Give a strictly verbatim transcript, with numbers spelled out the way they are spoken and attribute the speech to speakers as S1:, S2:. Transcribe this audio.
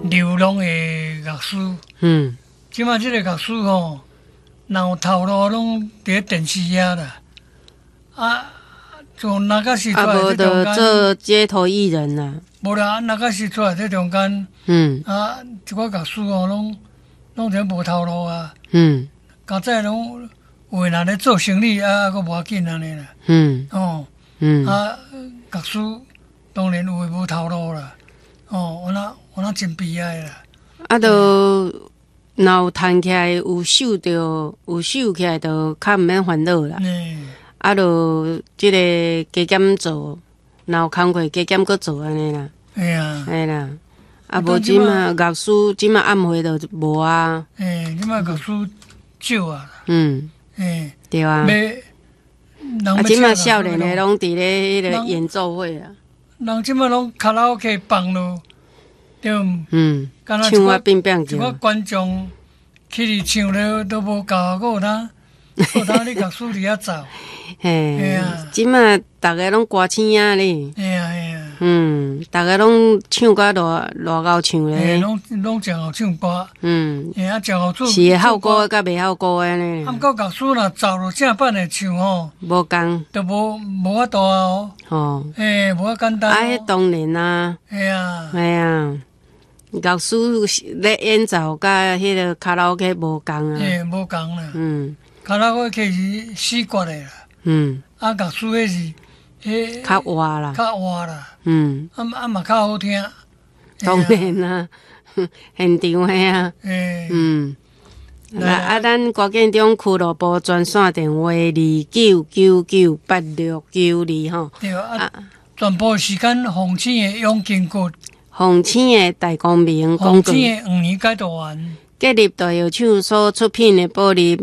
S1: 流浪的樂師。
S2: 嗯。
S1: 這馬這个樂師吼，若有頭路攏佇咧電視遐啦。啊，從那個時出
S2: 啊，
S1: 來
S2: 無就
S1: 這中間，
S2: 做街頭藝人啦。
S1: 無啦，那個時出來這中間，
S2: 嗯
S1: 啊，一寡樂師吼，攏攏這無頭路啊。
S2: 嗯
S1: 較早攏有的人咧做生意啊，閣無要緊按呢啦。
S2: 嗯
S1: 哦，
S2: 嗯
S1: 啊，樂師當然有的無頭路啦。哦，有那有那真悲哀啦。
S2: 啊，都若有趁起來，有收著，有收起來，就較毋免煩惱啦。
S1: 嗯，
S2: 啊，就這个加減做，若有工課加減閣做按呢啦，
S1: 嘿啊，
S2: 嘿啦。啊，無這馬樂師這馬暗會就無啊。
S1: 欸，這馬樂師少啊。
S2: 嗯，
S1: 欸，
S2: 對啊。
S1: 欲人
S2: 啊，
S1: 欲
S2: 這馬
S1: 請
S2: 少年的攏佇咧彼个演奏會啊。
S1: 人這馬攏卡拉 OK 放囉，對毋？
S2: 嗯，
S1: 敢若
S2: 唱啊變變
S1: 一寡觀眾起佇唱了都無夠，閣有當，閣有當你樂師佇遐奏。
S2: 嘿，這馬逐个攏歌星仔咧。
S1: 嘿啊嘿啊。
S2: 嗯，逐个攏唱甲偌偌𠢕唱咧。
S1: 攏攏誠𠢕唱歌。
S2: 嗯。
S1: 嘿啊，誠𠢕做。
S2: 是會好歌佮袂好歌的呢。
S1: 啊，毋過樂師若奏落正版的唱吼，
S2: 無仝。
S1: 就無無法度啊哦。
S2: 吼。
S1: 嘿，無遐簡單。
S2: 啊，彼當然啊。
S1: 嘿啊。
S2: 嘿啊。樂師咧演奏佮彼个卡拉 OK 無仝啊。
S1: 嘿，無仝啦。
S2: 嗯。
S1: 卡拉 OK 是死決的啦。
S2: 嗯。
S1: 啊，樂師彼是，彼
S2: 較活啦。
S1: 較活啦。
S2: 嗯。
S1: 啊啊嘛較好聽。
S2: 當然啦，現場的啊。
S1: 欸。
S2: 嗯。啊啊！咱歌建中俱樂部專線電話二九九九八六九二吼。
S1: 對啊。全部時間鳳星的養筋骨。
S2: 鳳星的大光明廣告。
S1: 鳳星的黃年解毒丸。
S2: 國立大藥廠所出品的保利。